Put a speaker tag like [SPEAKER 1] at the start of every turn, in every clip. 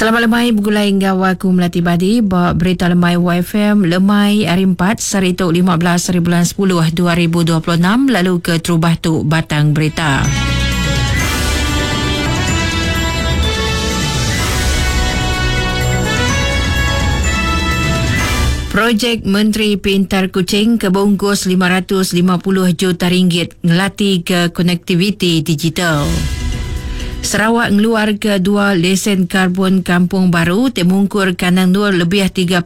[SPEAKER 1] Selamat lemai begulai enggau aku Melati Badi ba Berita Lemai YFM lemai hari 4 sehari tu 15 hari bulan 10 2026 lalu ke terubah tu batang berita. Projek Menteri Pintar Kuching ke beungkus 550 juta ringgit ngelati ke konektiviti digital. Sarawak ngeluarka dua lesen karbon kampung baru ti mungkur kandang endur lebih 31,000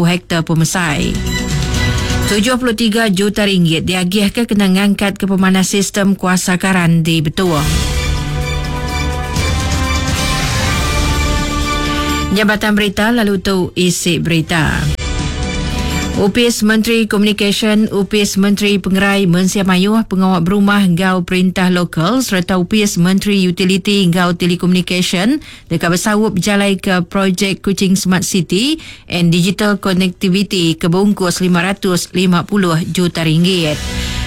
[SPEAKER 1] hektar pemesai. 73 juta ringgit diagihka kena ngangkatka pemanah sistem kuasa karan di Betong. Jabatan Berita lalu tu isi berita. Opis Menteri Komunikasyen, Opis Menteri Pengerai Mensia Mayuh, Pengawa Berumah enggau Perintah Lokal sereta Opis Menteri Utiliti enggau Telekomunikasyen deka besaup bejalaika projek Kuching Smart City and Digital Connectivity ke beungkus 550 juta ringgit.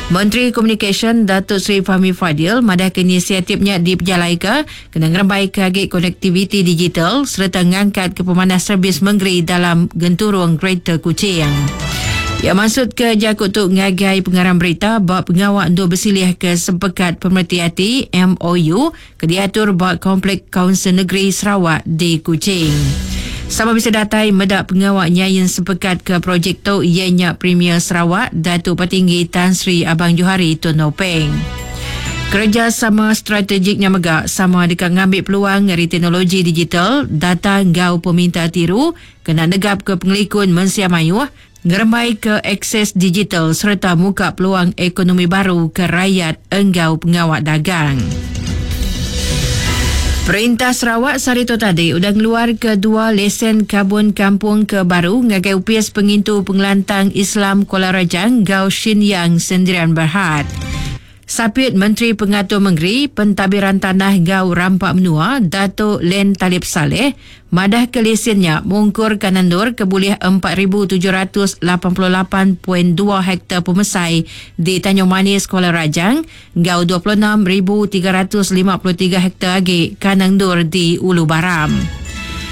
[SPEAKER 1] Menteri Komunikasyen Datuk Seri Fahmi Fadil madahka inisiatif nya dipejalaika kena ngerembaika agi konektiviti digital sereta ngangkatka pemanah servis mengeri dalam genturung Greater Kuching. Iya mansutka jaku tu ngagai pengarang berita ba pengawa endur besilihka Sempekat Pemereti Ati, MOU, ke diatur ba Komplek Kaunsil Negeri Sarawak di Kuching. Sama bisi datai meda pengawa nyain sempekat ke projek tu iya nya Premier Sarawak Datuk Patinggi Tan Sri Abang Johari Tun Openg. Kerejasama strategik nya mega sama deka ngambi peluang ari teknologi digital, data enggau peminta tiru kena negapka pengelikun mensia mayuh, ngerembaika akses digital sereta muka peluang ekonomi baru ke rayat enggau pengawa dagang. Perintah Sarawak sehari tu tadi udah ngeluarka dua lesen karbon kampung ke baru ngagai Opis Pengintu Pengelantang Islam Kuala Rajang enggau Shin Yang Sendirian Berhad. Sapit Menteri Pengatur Mengeri, Pentadbiran Tanah enggau Rampa Menua, Datuk Len Talib Salleh, madahka lisin nya mungkur kanan endur ke bulih 4,788.2 hektar pemesai di Tanjung Manis, Kuala Rajang enggau 26,353 hektar agi kandang endur di Ulu Baram.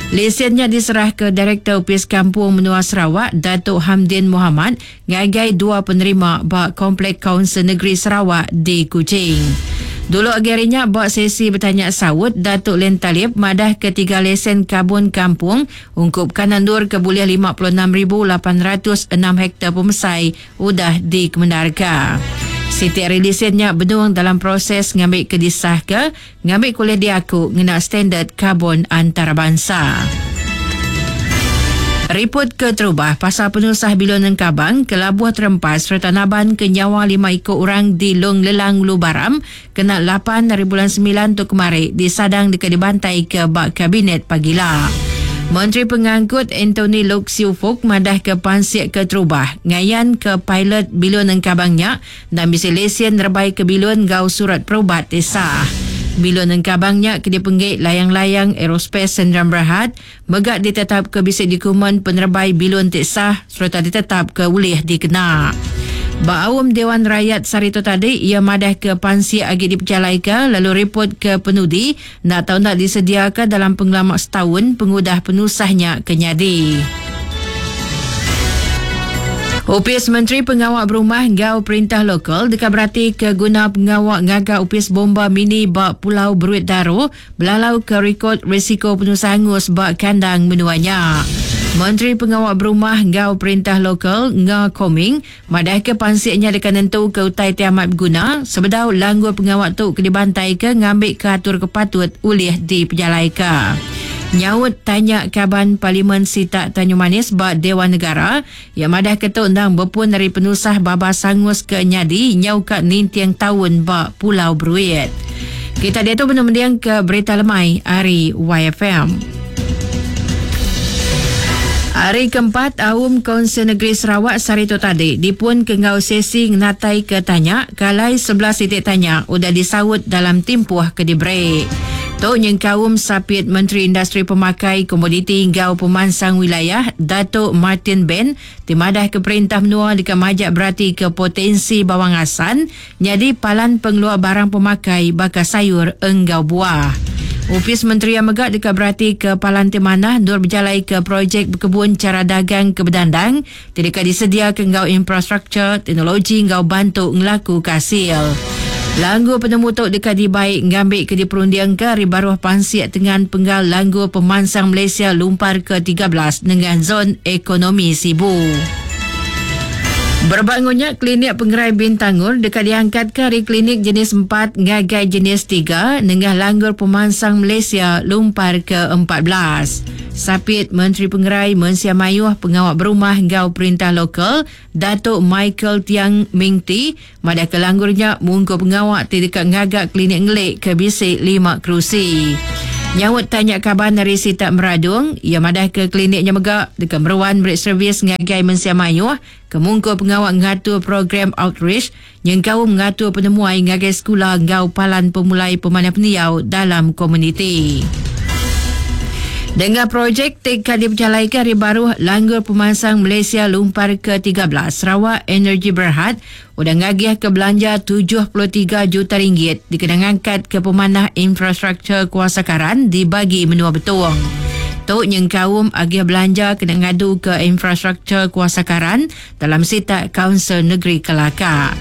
[SPEAKER 1] Lisin nya diserahka Direktor Opis Kampung Menua Sarawak, Datuk Hamdin Mohammad, ngagai dua penerima ba Komplek Kaunsil Negeri Sarawak di Kuching. Dulu agi ari nya ba sesi betanya saut, Datuk Len Talib madahka tiga lesen karbon kampung ungkup kanan endur ke bulih 56,806 hektar pemesai udah dikemendarka. Siti ari lesen nya benung dalam proses ngambika disahka Ngambi ke ulih diaku ngena standard karbon antarabansa. Riput keterubah pasal penusah bilun engkabang ke labuh terempas sereta naban ke nyawa lima iku orang di Long Lelang Ulu Baram kena lapan ari bulan semilan tu kemari disadang deka dibantaika ba Kabinet pagila. Menteri Pengangkut Anthony Loke Siew Fook madahka pansik keterubah ngayanka pilot bilun engkabang nya Endang bisi lesen nerebai ke bilun enggau surat perubat ti sah. Bilun engkabang nya ke dipenggi Layang-Layang Aerospace Sendirian Berhad mega ditetapka bisi dokumen penerebai bilun ti sah sereta ditetapka ulih dikena. Ba aum Dewan Rakyat sehari tu tadi, iya madahka pansik agi dipejalaika lalu ripot ke penudi enda tau enda disediaka dalam pengelama setaun pengudah penusah nya ke nyadi. Opis Menteri Pengawa Berumah enggau Perintah Lokal deka beratika guna pengawa ngaga opis bomba mini ba Pulau Beruit Daro belalauka rikod risiko penusah angus ba kandang menua nya. Menteri Pengawa Berumah enggau Perintah Lokal Nga Kor Ming Madahka pansik nya deka nentuka utai ti amat beguna sebedau langgur pengawa tu ke dibantaika ngambika atur ke patut ulih dipejalaika. Nyaut tanya Kaban Parlimen sitak Tanjung Manis ba Dewan Negara, iya madahka tu endang bepun ari penusah babas angus ke nyadi nyau ka ninting taun ba Pulau Bruit. Kita diatu benung mendingka Berita Lemai ari YFM. Hari keempat Aum Kaunsil Negeri Sarawak sehari tu tadi dipunka enggau sesi ngenataika tanya ke alai 11 iti tanya udah disaut dalam timpuh ke diberi. Tu nyengkaum Sapit Menteri Industri Pemakai, Komoditi enggau Pemansang Wilayah Datuk Martin Ben ti madahka perintah menua deka majak beratika potensi Bawang Assan nyadi palan pengeluar barang pemakai baka sayur enggau buah. Opis menteri iya mega deka beratika palan ti manah endur bejalaika projek bekebun chara dagang ke bedandang ti deka disediaka enggau infrastruktur, teknologi enggau bantu ngelakuka asil. Langgur penemu tu deka dibai ngambika diperundingka ari baruh pansik tengan penggal Langgur Pemansang Malaysia Lumpar ke 13 nengah Zon Ekonomi Sibu. Berebak enggau nya, Klinik Pengerai Bintangor deka diangkatka ari klinik jenis empat ngagai jenis tiga nengah Langgur Pemansang Malaysia Lumpar ke 14. Sapit Menteri Pengerai Mensia Mayuh Pengawa Berumah enggau Perintah Lokal, Datuk Michael Tiang Ming Tee madahka langgur nya mungkur pengawa ti deka ngaga klinik ngelik ke bisi lima kerusi. Nyaut tanya kaban ari sitak Meradong, iya madahka klinik nya mega deka meruan meri servis ngagai mensia mayuh ke mungkur pengawa ngatur program outreach nyengkaum ngatur penemuai ngagai sekula enggau palan pemulai pemanah pendiau dalam komuniti. Nengah projek ti ka dipejalaika ari baruh Langgur Pemansang Malaysia Lumpar ke 13, Sarawak Energy Berhad udah ngagihka belanja 73 juta ringgit dikena ngangkatka pemanah infrastruktur kuasa karan di bagi menua Betong. Tu nyengkaum agih belanja kena ngaduka infrastruktur kuasa karan dalam sitak Kaunsil Negeri Kelaka.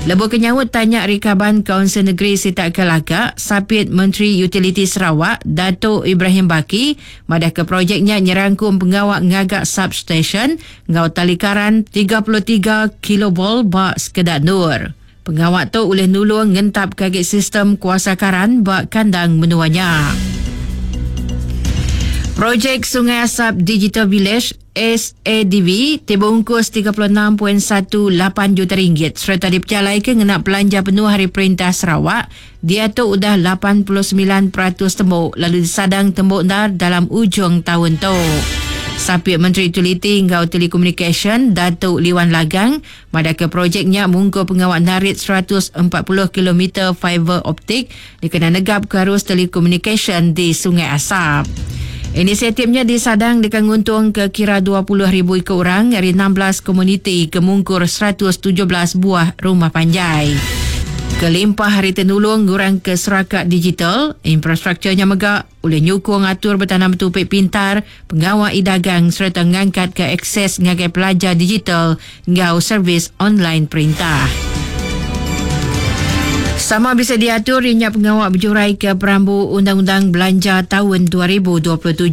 [SPEAKER 1] Lebuh ke nyaut tanya ari kaban Kaunsil Negeri Sitak Kelaka, Sapit Menteri Utiliti Sarawak, Datuk Ibrahim Baki, madahka projek nya nyerangkum pengawa ngaga substesyen enggau tali karan 33 kilovolt ba sekeda endur. Pengawa tu ulih nulung ngentapka agi sistem kuasa karan ba kandang menua nya. Projek Sungai Asap Digital Village, SADV, ti beungkus 36.18 juta ringgit sereta dipejalaika ngena belanja penuh ari Perintah Sarawak, diatu udah 89% tembu lalu disadang tembu endar dalam ujung taun tu. Sapit Menteri Utiliti enggau Telekomunikasyen Datuk Liwan Lagang madahka projek nya mungkur pengawa narit 140 kilometer fiber optik dikena negapka arus telekomunikasyen di Sungai Asap. Inisiatif nya disadang deka nguntungka kira 20,000 iku orang ari 16 komuniti ke mungkur 117 buah rumah panjai. Kelimpah ari ti nulung ngurangka seraka digital, infrastruktur nya mega ulih nyukung atur betanam betupi pintar, pengawa e-dagang sereta ngangkatka akses ngagai pelajar digital enggau servis online perintah. Sama bisi diatur iya nya pengawa bejuraika perambu Undang-Undang Belanja Taun 2027.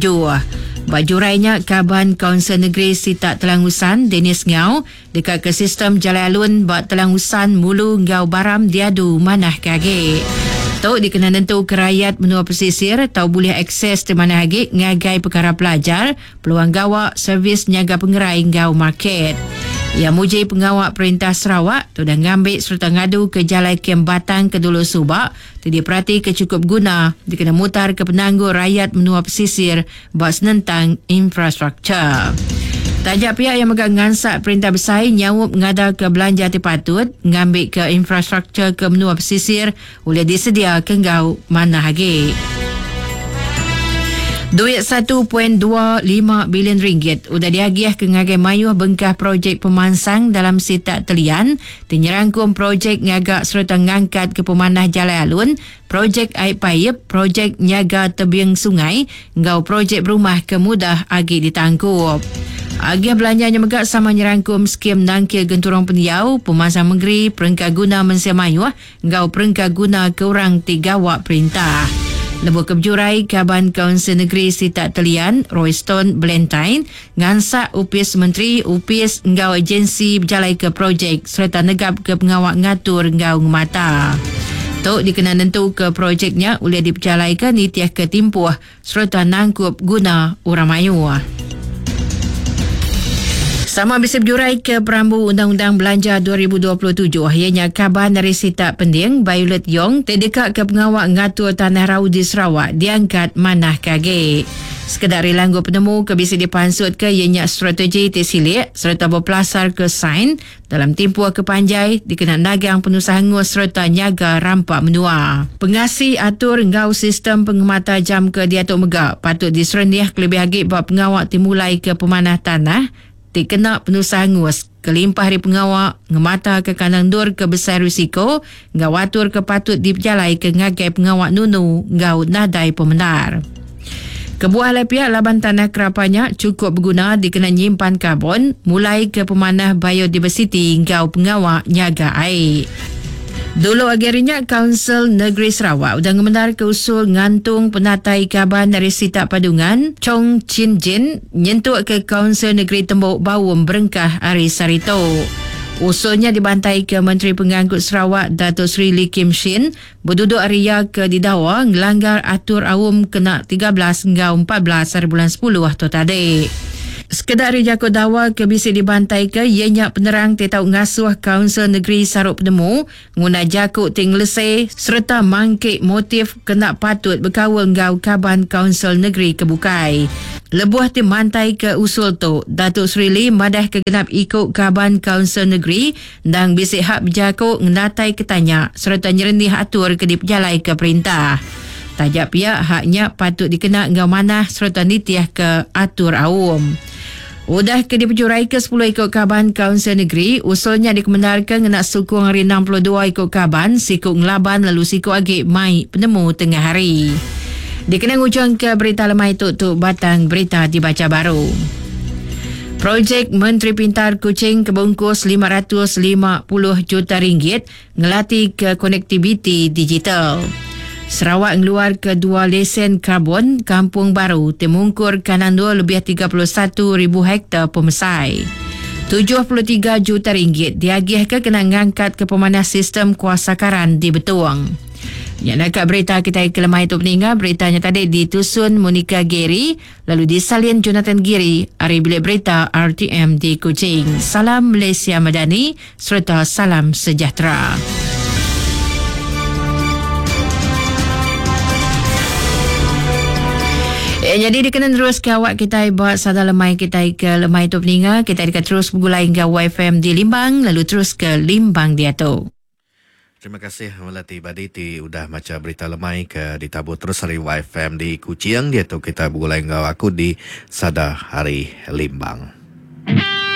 [SPEAKER 1] Ba jurai nya, Kaban Kaunsil Negeri Sitak Telang Usan, Dennis Ngau, deka ke sistem jalai alun ba Telang Usan, Mulu enggau Baram diadu manah ke agi. Tu dikena nentuka rayat menua pesisir tau bulih akses ti manah agi ngagai pekara pelajar, peluang gawa, servis nyaga pengerai enggau market. Iya muji pengawa Perintah Sarawak ti udah ngambi sereta ngaduka jalai kem batang ke dulu suba ti diperatika chukup guna dikena mutarka penanggul rayat menua pesisir ba senentang infrastruktur. Taja pia iya mega ngansak Perintah Besai nyaup ngadaka belanja ti patut ngambika infrastruktur ke menua pesisir ulih disediaka enggau manah agi. Duit 1.25 bilion ringgit udah diagihka ngagai mayuh bengkah projek pemansang dalam sitak Telian ti nyerangkum projek ngaga sereta ngangkatka pemanah jalai alun, projek ai paip, projek nyaga tebing sungai enggau projek berumah ke mudah agi ditangkup. Agih belanja nya mega sama nyerangkum skim nangkil genturung pendiau, pemansang mengeri, perengka guna mensia mayuh enggau perengka guna ke orang ti gawa perintah. Lebuh ke bejurai, Kaban Kaunsil Negeri Sitak Telian, Royston Ballantyne, ngansak opis menteri, opis enggau agensi bejalaika projek sereta negapka pengawa ngatur enggau ngemata. Tu dikena nentuka projek nya ulih dipejalaika nitihka timpuh sereta nangkup guna orang mayuh. Sama bisi bejurai ke perambu Undang-Undang Belanja 2027 iya nya kaban ari sitak Pending Violet Yong ti deka ke pengawa ngatur tanah rau di Sarawak diangkat manah ke agi. Sekeda ari langgur penemu ke bisi dipansutka iya nya strategi ti silik sereta bepelasarka sains dalam timpuh ke panjai dikena nagang penusah angus sereta nyaga rampa menua. Pengasi atur enggau sistem pengemata jam ke diatu mega patut diserenih kelebih agi ba pengawa ti mulaika pemanah tanah ti kena penusah angus kelimpah ari pengawa ngemataka kandang endur ke besai risiko enggau atur ke patut dipejalaika ngagai pengawa nunu enggau nadai pemendar. Kebuah alai pia laban tanah kerapa nya chukup beguna dikena nyimpan karbon, mulaika pemanah biodiversiti enggau pengawa nyaga ai. Dulu agi ari nya, Kaunsil Negeri Sarawak udah ngemendarka usul ngantung penatai kaban ari sitak Padungan, Chong Chin Jin, nyentuk ke Kaunsil Negeri tembu baum berengkah ari sehari tu. Usul nya dibantaika Menteri Pengangkut Sarawak Dato Sri Lee Kim Shin beduduk ari iya ke didawa ngelanggar atur aum kena 13 enggau 14 hari bulan sepuluh tu tadi. Sekeda ari jaku dawa ke bisi dibantaika iya nya penerang ti tau ngasuh Kaunsil Negeri Saru Penemu nguna jaku ti ngelese sereta mangki motif ke enda patut bekaul enggau kaban Kaunsil Negeri ke bukai. Lebuh ti mantaika usul tu, Datuk Seri Lee madahka genap iku kaban Kaunsil Negeri endang bisi hak bejaku ngenataika tanya sereta nyerenih atur ke dipejalaika perintah. Taja pia, hak nya patut dikena enggau manah sereta nitihka atur aum. Udah ke dipejuraika sepuluh iku kaban Kaunsil Negeri, usul nya dikemendarka ngena sukung ari 62 iku kaban, siku ngelaban lalu siku agi mai penemu tengah hari. Dikena ngujungka berita lemai tu, tu batang berita dibacha baru. Projek Menteri Pintar Kuching ke beungkus 550 juta ringgit Ngelatih konektiviti digital. Sarawak ngeluarka dua lesen karbon kampung baru ti mungkur kandang endur lebih 31,000 hektar pemesai. 73 juta ringgit diagihka kena ngangkatka pemanah sistem kuasa karan di Betong. Nya naka berita kitai ke lemai tu peninga, berita nya tadi ditusun Monica Gary. Lalu disalin Jonathan Giri ari Bilik Berita RTM di Kuching. Salam Malaysia Madani sereta salam sejahtera. Ya, jadi dikena terus ke awak kitai ba sada lemai kitai ke lemai tu peninga kitai deka terus begulai enggau YFM di Limbang lalu terus ke Limbang diatu.
[SPEAKER 2] Terima kasih Melati Badi ti udah macha berita lemai ke ditabur terus ari YFM di Kuching. Diatu kita begulai enggau aku di Sada Hari Limbang.